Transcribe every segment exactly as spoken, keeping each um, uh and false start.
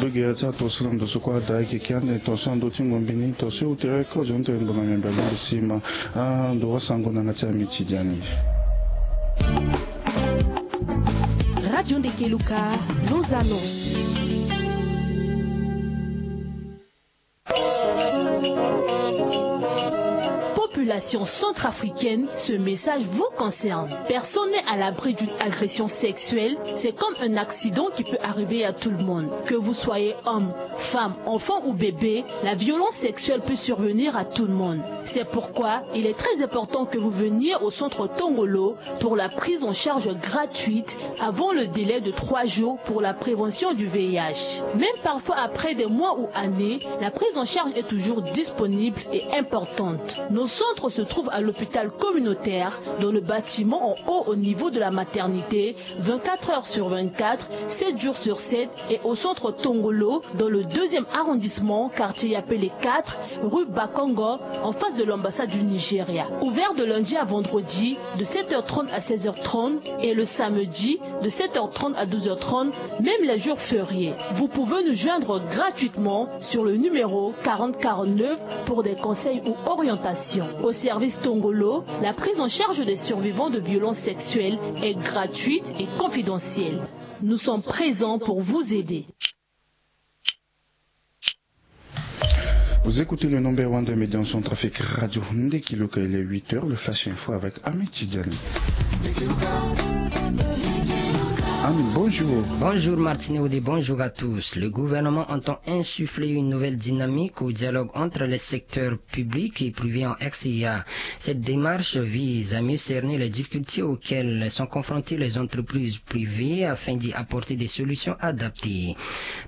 Lo gere ti ato so na ndo so kue ada ayeke ke ande tongaso na ndö ti ngombe ni tongaso e tere kozo ni tene ngbonga miambe alingbi si ma ando wasango na yanga ti amitidiani. Radio Ndekeluka, nos annonces. Population centrafricaine, ce message vous concerne. Personne n'est à l'abri d'une agression sexuelle. C'est comme un accident qui peut arriver à tout le monde. Que vous soyez homme, femme, enfant ou bébé, la violence sexuelle peut survenir à tout le monde. C'est pourquoi il est très important que vous veniez au centre Tongolo pour la prise en charge gratuite avant le délai de trois jours pour la prévention du V I H. Même parfois après des mois ou années, la prise en charge est toujours disponible et importante. Nos centres se trouvent à l'hôpital communautaire, dans le bâtiment en haut au niveau de la maternité, vingt-quatre heures sur vingt-quatre, sept jours sur sept, et au centre Tongolo, dans le deuxième arrondissement, quartier Yapele quatre, rue Bakongo, en face de l'ambassade du Nigeria. Ouvert de lundi à vendredi, de sept heures trente à seize heures trente, et le samedi, de sept heures trente à douze heures trente, même les jours fériés. Vous pouvez nous joindre gratuitement sur le numéro quarante quarante-neuf pour des conseils ou orientations. Au service Tongolo, la prise en charge des survivants de violences sexuelles est gratuite et confidentielle. Nous sommes présents pour vous aider. Vous écoutez le number one de médias en centrafrique, Radio Ndekiluka. Il est huit heures, le Flash Info avec Ahmed Tidjani. Ahmed, bonjour. Bonjour Martine Audé, bonjour à tous. Le gouvernement entend insuffler une nouvelle dynamique au dialogue entre les secteurs publics et privés en R C A. Cette démarche vise à mieux cerner les difficultés auxquelles sont confrontées les entreprises privées afin d'y apporter des solutions adaptées.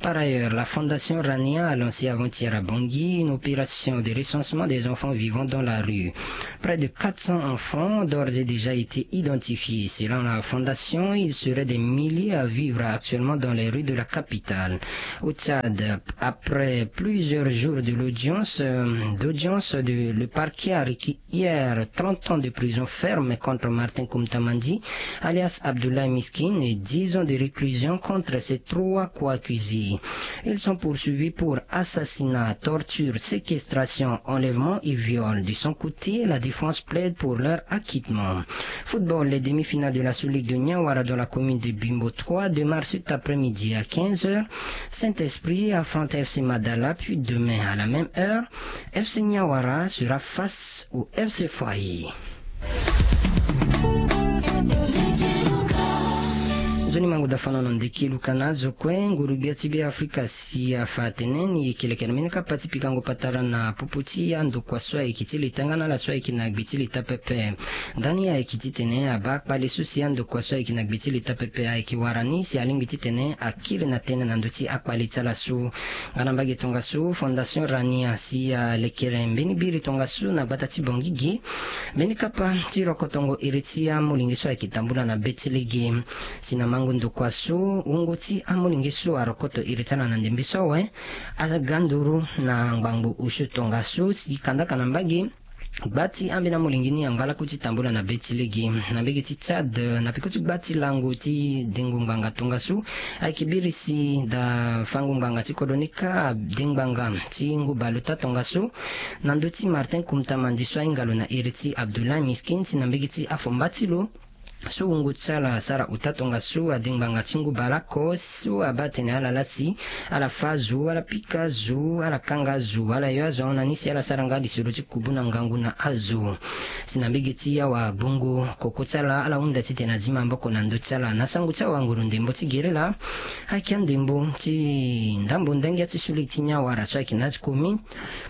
Par ailleurs, la Fondation Rania a lancé avant-hier à Bangui une opération de recensement des enfants vivant dans la rue. Près de quatre cents enfants ont d'ores et déjà été identifiés. Selon la fondation, il serait des milliers à vivre actuellement dans les rues de la capitale. Au Tchad, après plusieurs jours de l'audience, euh, d'audience, de, le parquet a requis hier trente ans de prison ferme contre Martin Koumtamandi, alias Abdoulaye Miskin, et dix ans de réclusion contre ses trois co-accusés. Ils sont poursuivis pour assassinat, torture, séquestration, enlèvement et viol. De son côté, la défense plaide pour leur acquittement. Football, les demi-finales de la Sous-Ligue de Niawara dans la commune de Bimbo trois démarrent cet après-midi à quinze heures. Saint-Esprit affronte F C Madala, puis demain à la même heure, F C Niawara sera face au F C Foyer. Nzoni mango dafano na Ndekiluka na azo kue. Nguru-gbia ti Beafrika si afa atene ni yeke leke na mbeni kapa ti pikango patara na popo ti andokua so ayeke ti leta nga na ala so ayeke na gbe ti leta pepe. Ndani ayeke titene abaa akpale so si andokua so ayeke na gbe ti leta pepe ayeke wara ni si alingbi titene akiri na tënë na ndö ti akpale ti ala so. Nga na mbage tongaso, Fondation Rania si alekere mbeni biri tongaso na gbata ti Bangui ge, mbeni kapa ti rokotongo iri ti amolenge so ayeke tambula na be ti lege. Si na mango ndokua so, wungo ti amolenge so arokoto iri ti ala na ndembe so awe aga nduru na ngbangbo osio tongaso si kandaka na mbage gba ti ambeni amolenge ni angba lakue ti tambula na be ti lege. Na mbage ti Tchad, na peko ti gba ti lango ti dengo ngbanga tongaso, ayeke biri si daa fango ngbanga ti kodro ni kâ ade ngbanga ti ngu bale ota tongaso na ndö ti Martin Koumtamandi so ahinga lo na iri ti Abdoulaye Miskin si na mbage ti afomba ti lo. So wungo ti ala asara ota tongaso ade ngbanga ti ngu bale oko so abaa atene ala laa si ala fâ azo, ala pika azo, ala kanga azo, ala yo azo ahon na ni si ala sara nga lisoro ti kubu na ngangu na azo. Si na mbage ti awagbongo koko ti ala, ala hunda titene azi maboko na ndö ti ala na sango ti awanguru ndembo ti gerila. Ayeke andembo ti ndambo ndangia ti suli ti Niawara so ayeke na ati komi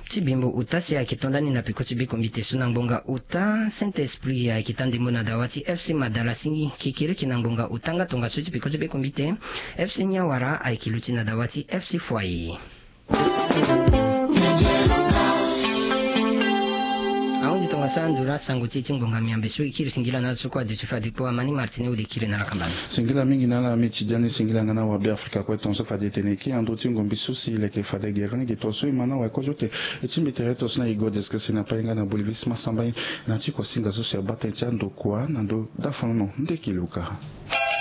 ti bimbo ota si ayeke to ndani na peko ti bekombite so na ngbonga ota. Saint-Esprit ayeke taa ndembo na dawa ti F C Madala si kekiriki na ngbonga ota nga tongaso ti peko ti bekombite. F C Niawara ayeke luti na dawa ti F C Foyer. Ahunzi tongaso anduru asango ti e ti ngbonga miambe so e kiri singila na ala so kue aduti fade kpo. Amani Martine Audé kiri na lakamba ni. Singila mingi na ala Ahmed Tidjani, singila nga na awabeafrika kue tongaso fade e tene e kiri na ndö ti ngombe so si e leke fade gere ni ge tongaso e ma na awakozo te. E ti mbi tere tongaso na Igor Deskesi na Payenga na Bolivis Masamba na ti kuasinga so si abaa tënë ti andokua na ndö dafanono Ndekiluka.